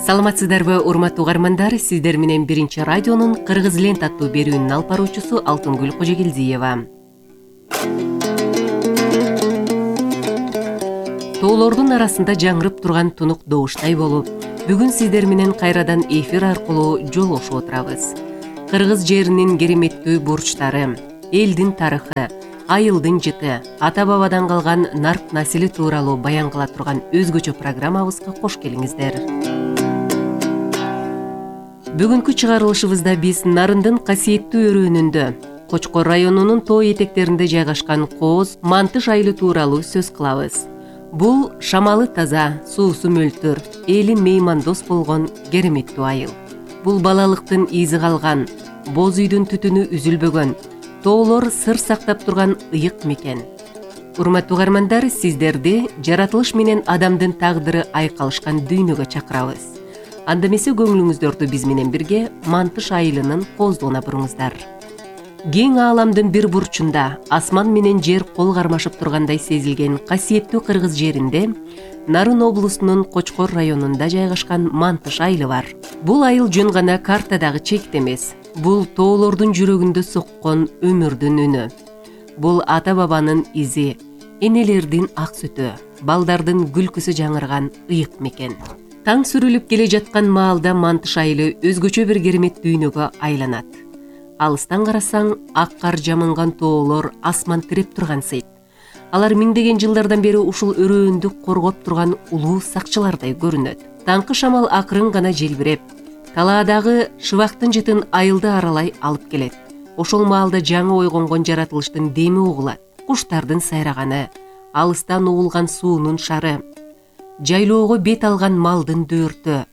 Саламатсыздарбы, урматтуу угармандар? Сиздер менен Биринчи радионун Кыргыз лент аттуу берүүнүн алып баруучусу Алтынгүл Кожогелдиева. Тоолордун арасында жаңырып турган тунук добуштай болуп, бүгүн сиздер менен кайрадан эфир аркылуу жолугушуп отурабыз. Кыргыз жеринин кереметтүү бурчтары, элдин тарыхы, айылдын жыты, ата-бабадан калган нарк насили тууралуу баян кыла турган өзгөчө программабызга кош келиңиздер. Бүгүнкү чыгарылышыбызда биз Нарындын касиеттүү өрөөнүндө Кочкор районунун тоо этектеринде жайгашкан Кооз Мантыш айылы тууралуу сөз кылабыз. Бул шамалы таза, суусу мөлтүр, эли меймандос болгон кереметтүү айыл. Бул балалыктын изи калган, боз үйдүн түтүнү үзүлбөгөн, тоолор сыр сактап турган ыйык мекен. Урматтуу угармандар, сиздерди жаратылыш менен адамдын тагдыры айкалышкан дүйнөгө чакырабыз. Анда эмесе көңүлүңүздөрдү биз менен бирге Мантыш айылынын кооздугуна буруңуздар. Кең ааламдын бир бурчунда асман менен жер кол кармашып тургандай сезилген касиеттүү Кыргыз жеринде Нарын облусунун Кочкор районунда жайгашкан Мантыш айылы бар. Бул айыл жөн гана картадагы чекит эмес. Бул тоолордун жүрөгүндө соккон өмүрдүн үнү. Бул ата-бабанын изи, энелердин ак сүтү, балдардын күлкүсү жаңырган ыйык мекен. Таң сүрүлүп келе жаткан маалда Мантыш айылы өзгөчө бир керемет дүйнөгө айланат. Алыстан карасаң, ак кар жамынган тоолор асман тиреп турган сейт. Алар миңдеген жылдардан бери ушул өрөөндү коргоп турган улуу сакчылардай көрүнөт. Таңкы шамал акырын гана желбиреп, талаадагы шыбактын жытын айылды аралай алып келет. Ошол маалда жаңы ойгонгон жаратылыштын деми угулат. Куштардын сайраганы, алыстан угулган суунун шары, жайлоого бет алган малдын дөөртү.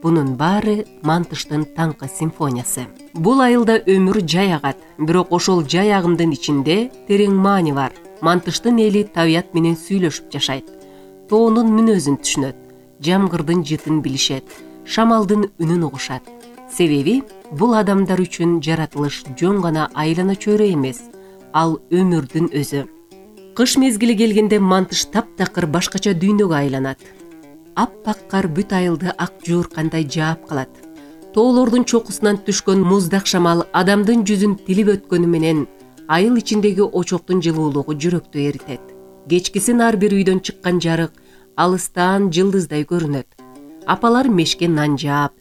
Бунун баары Мантыштын таңкы симфониясы. Бул айылда өмүр жай агат, бирок ошол жай агымдын ичинде терең маани бар. Мантыштын эли табият менен сүйлөшүп жашайт. Тоонун мүнөзүн түшүнөт, жамгырдын жытын билишет, шамалдын үнүн угушат. Себеби бул адамдар үчүн жаратылыш жөн гана айлана чөйрө эмес, ал өмүрдүн өзү. Кыш мезгили келгенде Мантыш таптакыр башкача дүйнөгө айланат. Аппак кар бүт айылды ак жууркандай жаап калат. Тоолордун чокусунан түшкөн муздак шамал адамдын жүзүн тилип өткөнү менен айыл ичиндеги очоктун жылуулугу жүрөктү эритет. Кечкисин ар бир үйдөн чыккан жарык алыстан жылдыздай көрүнөт. Апалар мешке нан жаап,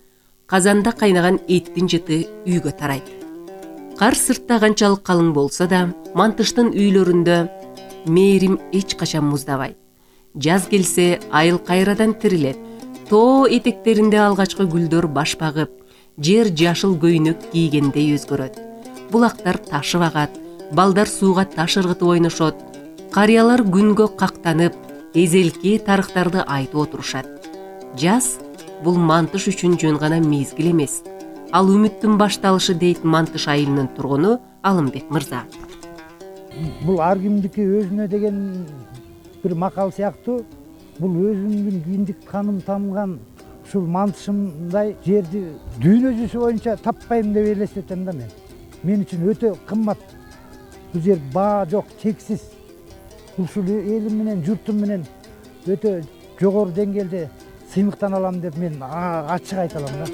казанда кайнаган эттин жыты үйгө тарайт. Кар сыртта канчалык калың болсо да, Мантыштын үйлөрүндө мээрим эч качан муздабайт. Жаз келсе, айыл кайрадан тирилет. Тоо этектеринде алгачкы гүлдөр баш багып, жер жашыл көйнөк кийгендей өзгөрөт. Булактар ташып агат, балдар сууга таш ыргытып ойношот. Карыялар күнгө кактанып, эзелки тарыхтарды айтып отурушат. Жаз бул Мантыш үчүн жөн гана мезгил эмес. Ал үмүттүн башталышы дейт Мантыш айылынын тургуну Алымбек мырза. Бул ар кимдики өзүнө деген бир макал сыяктуу. Бул өзүмдүн киндик каным тамган ушул Мантышымдай жерди дүйнө жүзү боюнча таппайм деп элестетем да мен. Мен үчүн өтө кымбат. Бул жер баа жок, чексиз. Ушул элим менен, журтум менен өтө жогору деңгээлде сыймыктан алам деп мен ачык айта алам да.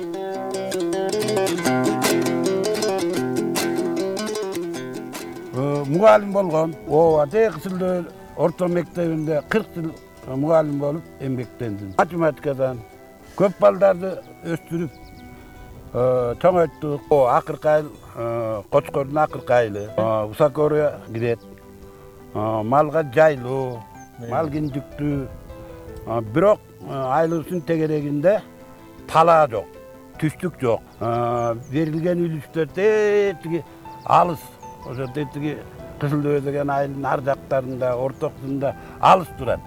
Мугалим болгон. Текстилдөө орто мектебинде 40 жыл мугалим болуп эмгектендим. Математикадан көп балдарды өстүрүп чоңойттук. Акыркы айыл Кочкордун акыркы айылы. Усакорга кирет. Малга жайлоо, мал киндиктүү. Бирок айылыбыздын тегерегинде талаа жок, түштүк жок. Берилген үлүштөр тетиги алыс. Ошо тетиги Кызылдөбө деген айылдын ар жактарында, ортосунда алыс турат.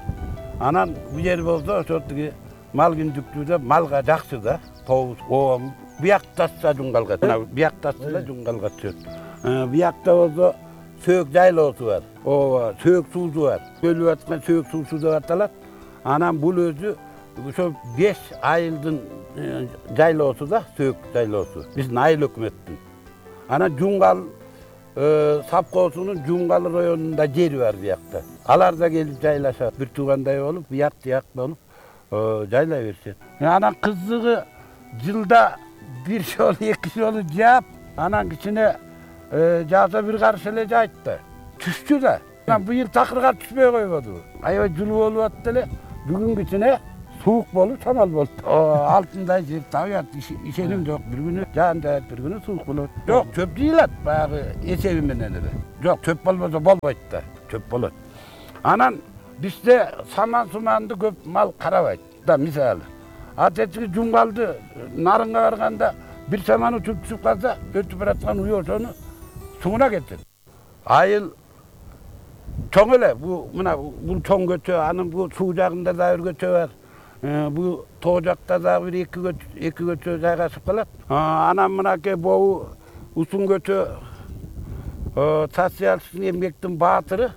Анан бул жер болсо ошо тиги мал киндиктүүдө малга жакшы да. Тообуз бияк тасса жуңгалга, бияк тасса да жуңгалга түшөт. Биякта болсо сөөк жайлоосу бар. Сөөк суусу бар. Көлүп аткан сөөк суусу деп аталат. Анан бул өзү ошо 5 айылдын жайлоосу да, сөөк жайлоосу. Биздин айыл өкмөттүн. Анан жуңгал Сапкоосунун Жуңгал районунда жери бар биякта. Алар да келип жайлашат. Бир туугандай болуп, бияк болуп жайлай беришет. Анан кызыгы жылда бир жолу эки жолу жаап, анан кичине жааса бир карыш эле жайт да. Түштү да. Анан быйыл такыр кар түшпөй койбоду. Аябай жылуу болуп атты эле. Бүгүн кичине суук болуп, шамал болду. Алтындай жер табыят, ишеним жок. Бир күнү жаан жаат, бир күнү суук болот. Жок, чөп жыйылат баягы эсеби менен эле. Жок, чөп болбосо болбойт да. Чөп болот. Анан бизде саман-суманды көп мал карабайт да, мисалы. Атечиги жумгалды нарынга барганда бир саман учуп түшүп калса, өтүп бараткан уй ошону суңуна кетет. Айыл чоң эле, бул чоң көчө, анын бул суу жагында да бир көчө бар. Бул тоо жакта да бир эки көчө жайгашып калат. Анан мынакей бобу узун көчө социалисттик эмгектин баатыры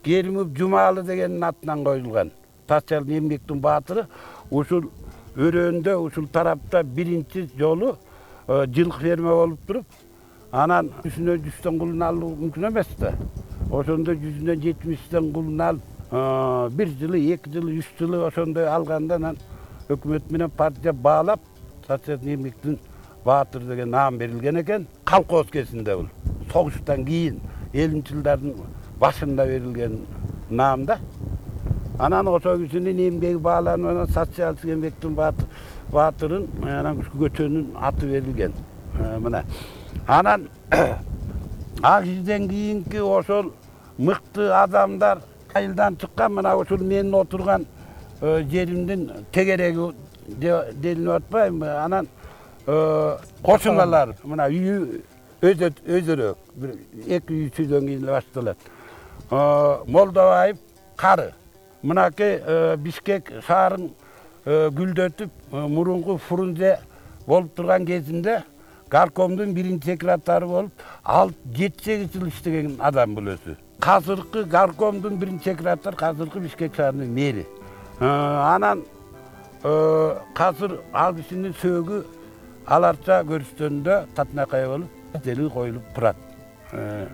Керимов Жумалы дегендин атынан коюлган. Социалдык эмгектин баатыры ушул өрөөндө, ушул тарапта биринчи жолу жылкы ферма болуп туруп, анан жүзүнө 100 кулун алуу мүмкүн эмес да. Ошондо 170 кулун алып, бир жылы, 2 жылы, 3 жылы ошондой алганда анан өкмөт менен партия баалап, социалдык эмгектин баатыр деген наам берилген экен. Колхоз кезинде бул. Согуштан кийин 50-жылдардын башында берилген наам да. Анан ошол кишинин эмгеги бааланып, анан социалдык эмгектин баатырын, анан ушул көчөнүн аты берилген. Мына. Анан ак изден кийинки ошол мыкты адамдар айылдан чыккан, мына ушул менин отурган жеримдин тегереги делинип атпайбы? Анан кошуналар, мына үйү өзөрөөк, бир 2 үй сүйдөн кийин эле башталат. Молдобаев кары. Мынакей Бишкек шаарын гүлдөтүп, мурунку Фрунзе болуп турган кезинде горкомдун биринчи секретары болуп, 7-8 жыл иштеген адам бул өзү. Азыркы горкомдун биринчи секретары, азыркы Бишкек шаарынын мэри. Анан азыр ал кишинин сөөгү аларча көрүштөндө татынакай болуп, дели коюлуп турат.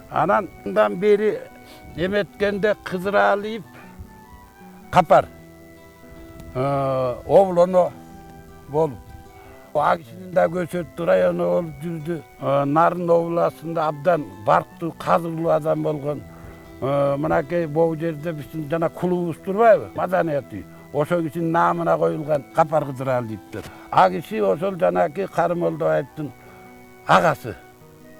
Анан мындан бери эметкенде Кызыралиев Капар облоно болуп, ак кишинин да көчөттү району болуп жүрдү. Нарын областында абдан барктуу, казырлуу адам болгон. Мынакей бул жерде биздин жана клубубуз турбайбы? Маданият үй. Ошол кишинин наамына коюлган Капар Кызыралиевдер. Ак киши ошол жанагы Кары Молдобаевдин агасы.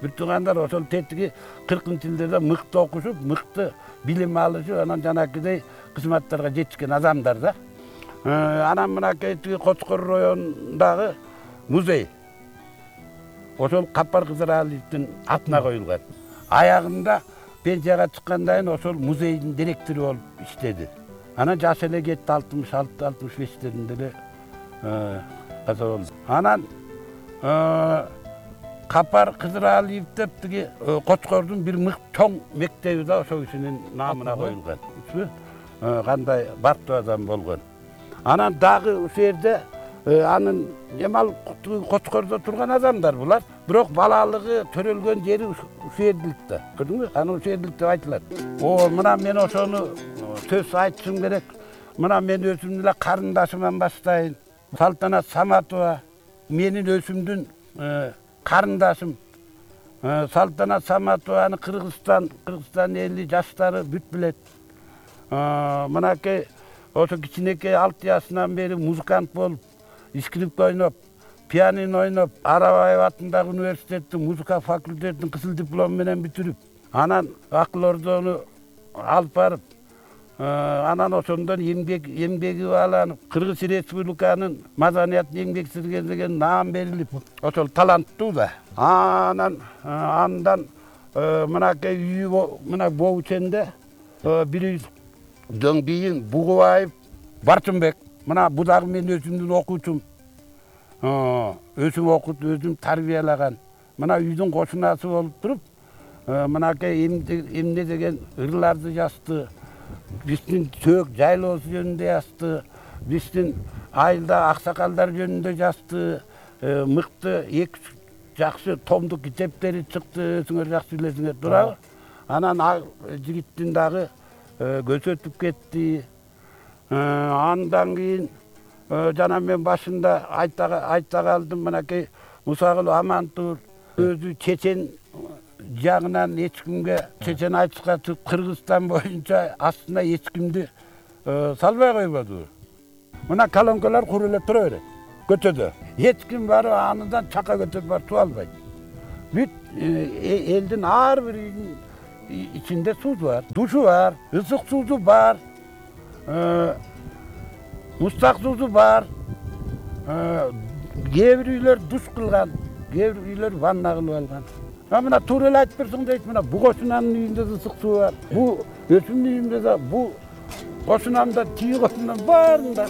Бир туугандар ошол тетиги 40-жылдарда мыкты окушуп, мыкты билим алышып, анан жанагыдай кызматтарга жетишкен адамдар да. Анан мынакей Кочкор районундагы музей ошол Капар Кызыралиевдин атына коюлган. Аягында пенсияга чыккандан кийин ошол музейдин директору болуп иштеди. Анан жаш эле кетти, 66-65-леринде эле каза болду. Анан Капар Кызыралиев деп тиги Кочкордун бир чоң мектеби да ошол кишинин наамына коюлган. Кандай барктуу адам болгон. Анан дагы ушул жерде анын эмал Кочкордо турган адамдар булар. Бирок балалыгы төрөлгөн жери ушул жердилик да. Көрдүңбү? Анан ушул жердилик деп айтылат. Мына мен ошону сөз айтышым керек. Мына мен өзүмдүн эле карындашымдан баштайын. Салтанат Саматова менин өзүмдүн карындашым. Салтанат Саматованы Кыргызстан эли жаштары бүт билет. Мынакей ошо кичинекей 6 жашынан бери музыкант болуп, скрипка ойноп, пианино ойноп, Арабаев атындагы университеттин музыка факультетин кызыл диплом менен бүтүрүп, анан Акыл Ордону алып барып, анан ошондон эмгеги бааланып, Кыргыз Республиканын маданият эмгек сиңирген деген наам берилип, ошол таланттуу да. Анан мынакей үйү мына Боученде бир үйдөн кийин Бугубаев Барчынбек. Мына бу дагы мен өзүмдүн окуучум. Өзүм окутуп, өзүм тарбиялаган. Мына үйдүн кошунасы болуп туруп, мынакей эмне деген ырларды жазды. Биздин сөк жайлоосу жөнүндө жазды. Биздин айылда аксакалдар жөнүндө жазды. Мыкты 2 жакшы томдук китептери чыкты, өзүңөр жакшы билесиңер, туурабы? Анан жигиттин дагы көзү өтүп кетти. Андан кийин жана мен башында айта калдым, мынакей Мусагул Амантур өзү чечен жагынан эч кимге чечен айтышка чыгып Кыргызстан боюнча астына эч кимди салбай койбоду. Мына колонкалар куруп эле тура берет көчөдө. Эч ким барып андан чака көтөрүп барып суу албайт. Бүт элдин ар бир үйдүн ичинде суу бар, душу бар, ысык суусу бар, мустак суусу бар. Кээ бир үйлөр душ кылган, кээ бир үйлөр ванна кылып алган. Мына туура эле айтып берсең дейт, мына бу кошунанын үйүндө да ысык суу бар, бу өчүмдүн үйүндө да, бу кошунамда, тиги кошунам баарында